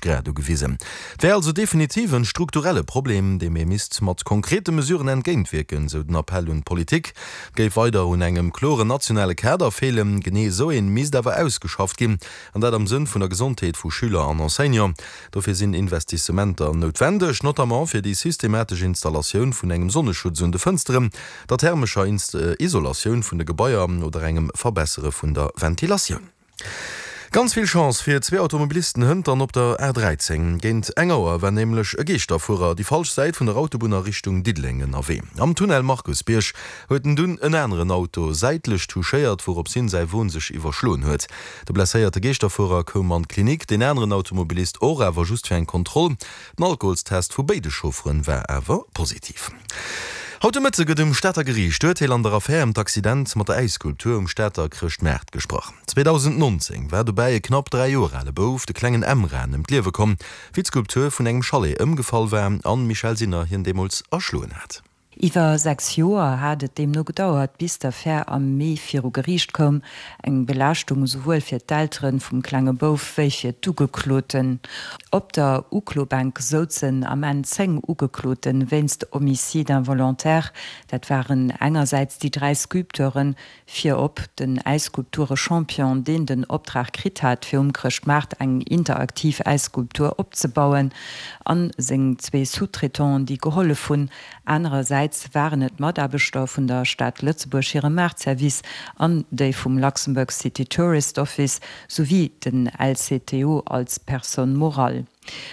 Grad ugewisen. Et wär also definitiv en strukturelle Problem, deem ee misst mat konkrete Mesuren entgéintwierken, sou den Appell un d'Politik. Et géif weider un engem kloren nationale Kader feelen. Genee esou een misst awer ausgeschafft ginn, an dat am Sënn vun der Gesondheet vu Schüler an Enseignant. Dofir sinn Investissementer noutwendeg, notamment fir déi systematesch Installatioun vun engem Sonneschutz un de Fënsteren, der thermescher Isolatioun vun de Gebaier oder engem Verbessere vun der Ventilatioun. Ganz vill Chance fir zwee Automobilisten hënt dann op der A 13. Géint eng Auer war nämlech e Geeschterfuerer déi falsch Säit vun der Autobunn a Richtung Diddeleng ënnerwee. Am Tunnel Markusbierg huet en dunn en aneren Auto säitlech touchéiert, wourops hien säi Won sech iwwerschloen huet. De blesséierte Geeschterfuerer koum an d'Klinik, deen aneren Automobilist och, awer just fir eng Kontroll. Den Alkoholstest vu béide Chaufferen war awer positiv. Haut de Mëtte gëtt um Stater Geriicht d'Urteel an der Affär ëm d'Accident mat der Äisskulptur um Stater Chrëschtmaart gesprach. 2019 war dobäi e knapp 3 Joer ale Bouf, de klengen Emran, ëm d'Liewe komm, wéi d'Skulptur vun engem Chalet ëmgefall war an d'Michèle Sinner hien deemools erschloen hat. Iwwer 6 Joer hat et deemno gedauert, bis d'Affär am Mee viru Geriicht koum. Eng Belaaschtung esouwuel fir d'Eltere vum klenge Bouf wéi fir d'Ugekloten. Op der Uklobänk souzen am Enn 10 Ugeklote wéinst Homicide involontaire. Dat waren engersäits déi 3 Sculpteuren, Virop den Äisskulpture-Champion, deen den Optrag kritt hat, fir um Chrëschtmaart eng interaktiv Äisskulptur opzebauen, an seng zwee Sous-traitanten, déi gehollef hunn. Anerersäits waren et d'Mataarbechter vun der Stad Lëtzebuerg hirem Maartservice an déi vum Luxembourg City Tourist Office, souwéi den LCTO als Personne morale.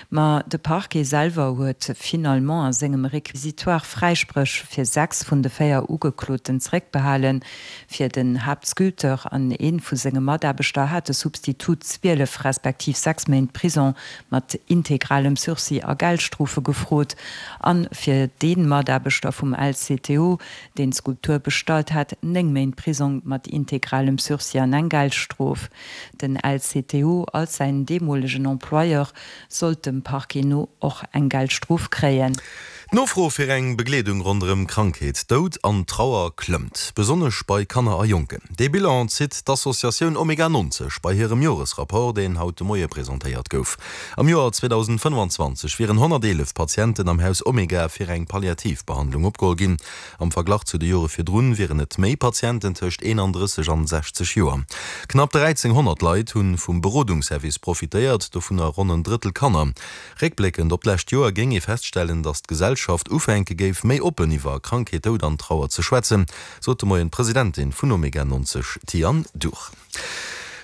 Ma de Parquet selwer huet finalement a sengem Réquisitoire Fräispréch fir 6 vun de 4 Ugekloten zeréckbehalen. Fir den Haaptsculpteur an ee vu senge Mataarbechter hat de Substitut 12 respektiv 6 Méint Prison mat integralem Sursis a Geldstrofe gefrot. A fir dee Mataarbechter vum LCTO, deen d'Skulptur bestallt hat, 9 Méint Prisong mat integralem Sursis an eng Geldstrof. Den LCTO als säin deemolegen Employeur sollt dem Parquet no och eng Geldstrof kréien. D'Nofro fir eng Begleedung ronderëm Krankheet, Doud an Trauer klëmmt, besonnesch bei Kanner a Jonken. Dee Bilan zitt d'Associatioun Omega 90 bei hirem Joresrapport, deen haut de Moie presentéiert gouf. Am Joer 2025 wieren 111 Patienten am Haus Omega fir eng palliativ Behandlung opgeholl ginn. Am Verglach zu de Jore virdrun wieren et méi Patienten tëscht 31 an 60 Joer. Knapp 1.300 Leit hu vum Berodungsservice profitéiert, dovunner ronn en Drëttel Kanner. Réckbléckend op d'lescht Joer géing ee feststellen, datt d'Gesellschaft ufänke géif, méi oppen iwwer Krankheet, Doud an Trauer ze schwätzen, sot de Moien d'Presidentin vun Omega 90, Thian Duch.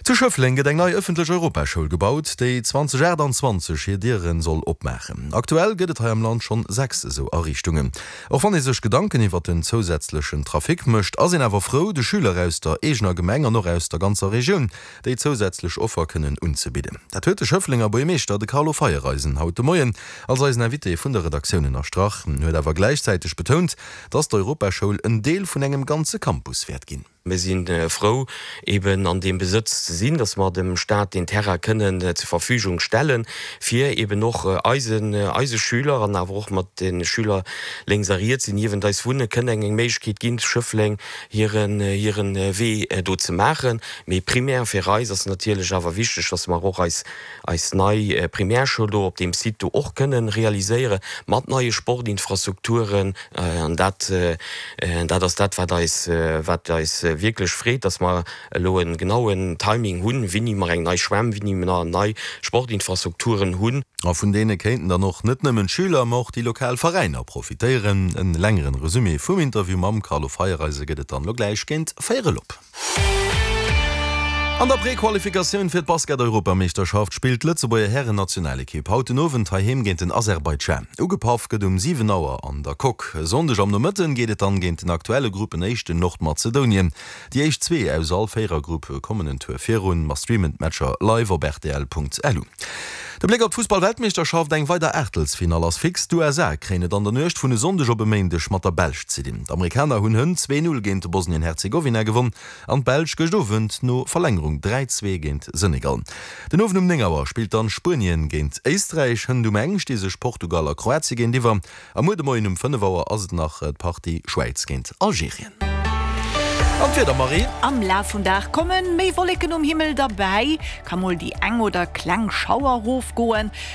Zu Schëffleng gëtt eng nei ëffentlech Europaschoul gebaut, déi 2028 hir Diere soll opmaachen. Aktuell gëtt et hei am Land schonn 6 esou Ariichtungen. Och wann ee sech Gedanken iwwer den zousätzlechen Trafic mécht, ass een awer frou, de Schüler aus der eegener Gemeng an och aus der ganzer Regioun déi zousätzlech Offer kënnen unzebidden. Dat huet de Schëfflenger Buergermeeschter, de Carlo Feiereisen, haut de Moien als eisen Invité vun der Redaktioun ënnerstrach. En huet awer gläichzäiteg betount, dass d'Europaschoul en Deel vun engem ganze Campus wäert ginn. Mir si frou, eben an deem Besëtz ze sinn, dass mer dem Stat deen Terrain kënnen zur Verfügung stellen, fir eben och eisen, eise Schüler an awer och mat de Schüler lénks a riets, déi niewent eis wunnen, kënnen eng Méiglechkeet ginn, zu Schëffleng hiren, hiren Wee do ze maachen. Mee primär fir eis ass natierlech awer wichteg, dass mer och eis, eis nei Primärschoul do op deem Site do och kënnen realiséieren, mat neie Sportinfrastrukturen, An dat, dat ass dat, wat eis, wat eis wierklech freet, dass mer elo e genauen Timing hunn, wéini mer eng nei Schwämm, wéini mer nei Sportinfrastrukturen hunn. A vun deene kéinten dann och net nëmmen d'Schüler, ma och déi lokal Veräiner profitéieren. En längeren Resumé vum Interview mam Carlo Feiereisen gëtt et dann elo gläich géint véierel op. An der Prequalifikatioun fir d'Basket-Europameeschterschaft spillt d'Lëtzebuerger Hären-Nationalekipp haut den Owend heiheem géint den Aserbaidschan. Ugepaff gëtt um 7 Auer an der Coque. E Sonndeg am Nomëtten geet et dann géint den aktuelle Gruppenéischten Nordmazedounien. Déi éischt zwee aus all Véierergrupp kommen en Tour virun. Mer streamen d'Matcher live op rtl.lu. De Bléck op d'Fussball-Weltmeeschterschaft, Eng weider Aachtelsfinall ass fix. D'USA kréien et an der Nuecht vun e Sonndeg op e Méindeg mat der Belsch ze dinn. D'Amerikaner hunn hënt 2, 0 géint Bosnien-Herzegowina gewonn an d'Belsch gëscht Owend no Verlängerung 3, 2 géint Senegal. Den Owend um 9 Auer spillt dann Spuenien géint Éisträich. Hënt um eng sti sech Portugal a Kroatien géintiwwer a muer de Moien um 5 Auer ass et nach d'Partie Schwäiz géint Algerien. An d'Wieder, Marie? Am Laf vum Dag komme méi Wolleken um Himmel derbäi, ka mol déi eng oder kleng Schauer rofgoen.